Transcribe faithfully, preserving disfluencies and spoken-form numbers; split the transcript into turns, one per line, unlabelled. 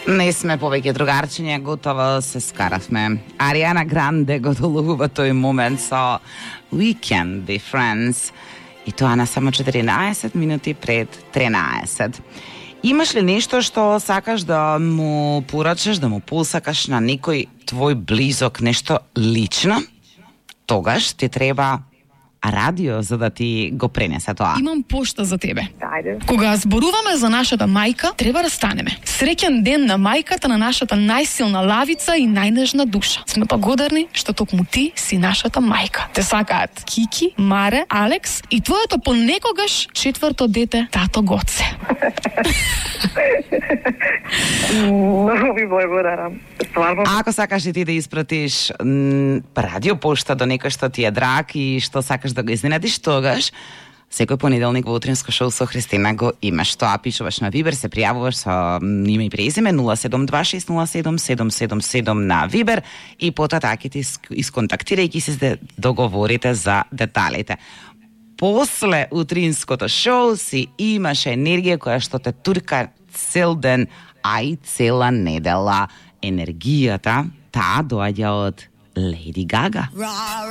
Не сме повеќе другарчиња, готово се скаравме. Ариана Гранде го доловува тој момент со We Can Be Friends. И тоа на само четиринаесет минути пред тринаесет. Имаш ли нешто што сакаш да му порачаш, да му посакаш на некој твој близок, нешто лично? Тогаш ти треба радио за да ти го пренесе тоа.
Имам пошта за тебе.
Ајде.
Кога зборуваме за нашата мајка, треба да станеме. Среќен ден на мајката на нашата најсилна лавица и најнежна душа. Сме благодарни што токму ти си нашата мајка. Те сакаат Кики, Маре, Алекс и твоето понекогаш четврто дете, тато Гоце.
Многу ви благодарам. Стварно.
Ако сакаш и ти да испратиш м, радио пошта до некој што ти е драг и што сакаш да го изненадиш, тогаш секој понеделник во утринско шоу со Христина го имаш. Тоа пишуваш на Вибер, се пријавуваш со име и презиме нула седум два шест нула седум седум седум седум на Вибер и потоа таки ти исконтактирајќи се да договорите за деталите. После утринското шоу си имаш енергија која што те турка цел ден, а и цела недела. Енергијата, таа доаѓа од Леди Гага.